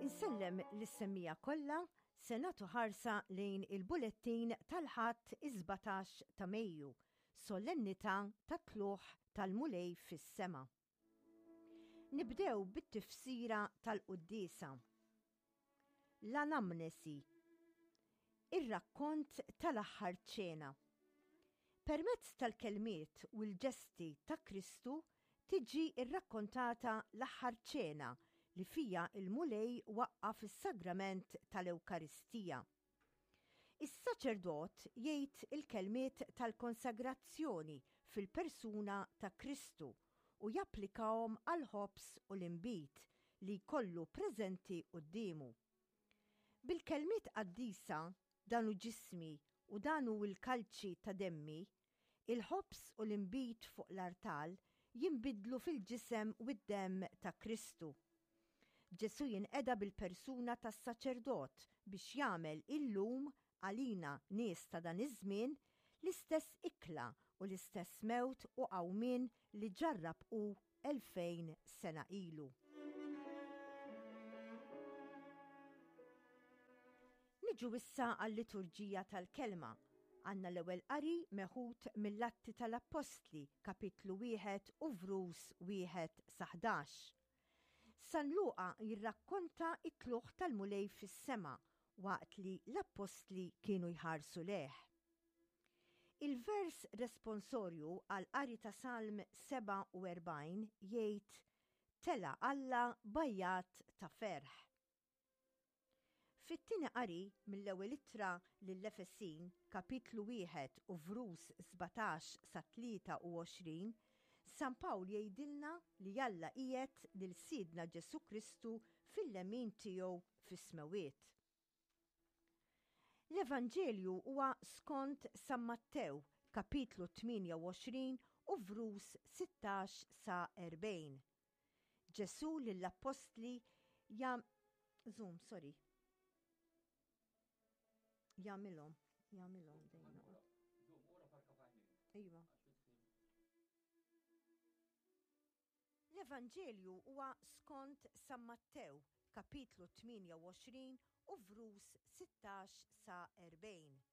Insellem lis-semmija kollha se nagħtu ħarsa lejn il-bulettin tal-Ħadd is-17 ta' Mejju, solennità tat-tlugħ tal-Mulej fis-sema. Nibdew bit-tifsira tal-quddiesa. L-anamnesi. Ir-rakkont tal-aħħar ċena. Permezz tal-kelmiet u l-ġesti ta' Kristu tiġi rrakkontata l-aħħar ċena li fija l-Mulej waqqaf is-sagrament tal-Ewkaristija. Is-saċerdot jgħid il-kelmiet tal-konsagrazzjoni fil-persuna ta' Kristu u japplikahom għall-ħobż u l-inbid li jkollu preżenti quddiemu. Bil-kelmiet qaddisa, Dan hu ġismi u dan hu l-kalċi ta' demmi, il-ħobż u l-inbid fuq l-artal jinbidlu fil-ġisem u d-demm ta' Kristu. Ġesù jinqeda bil-persuna tas-saċerdot biex jagħmel illum għalina nies ta' dan iż-żmien l-istess ikla u l-istess mewt u qawmien li ġarrab hu 2000 sena ilu. Niġu issa għal-liturġija tal-kelma. Għandna l-ewwel qari meħud mill-Atti tal-Appostli, kapitlu wieħed u vrus wieħed sa 11. San Luqa jirrakkonta t-tlugħ tal-Mulej fis-sema waqt li l-appostli kienu jħarsu lejh. Il-vers responsorju għall-qari ta' Salm 47 jgħid, Tela' Alla b'għajjat ta' ferħ. Fit-tieni qari mill-Ewwel Ittra lill-Efesin, kapitlu wieħed u vrus 17 sa 23, San Pawl jgħidilna li Alla qiegħed lil Sidna Ġesù Kristu fil-lemin tiegħu fis-smewwiet. L-Evanġelju huwa skont San Mattew, kapitlu 28 u vrus 16 sa 40. Ġesù lill-appostli jam Zoom, sorry. Jagħmilhom, jagħmilhom dejjem. Iva. L-Evanġelju huwa skont San Mattew, kapitlu 28 u vrus 16 sa 40.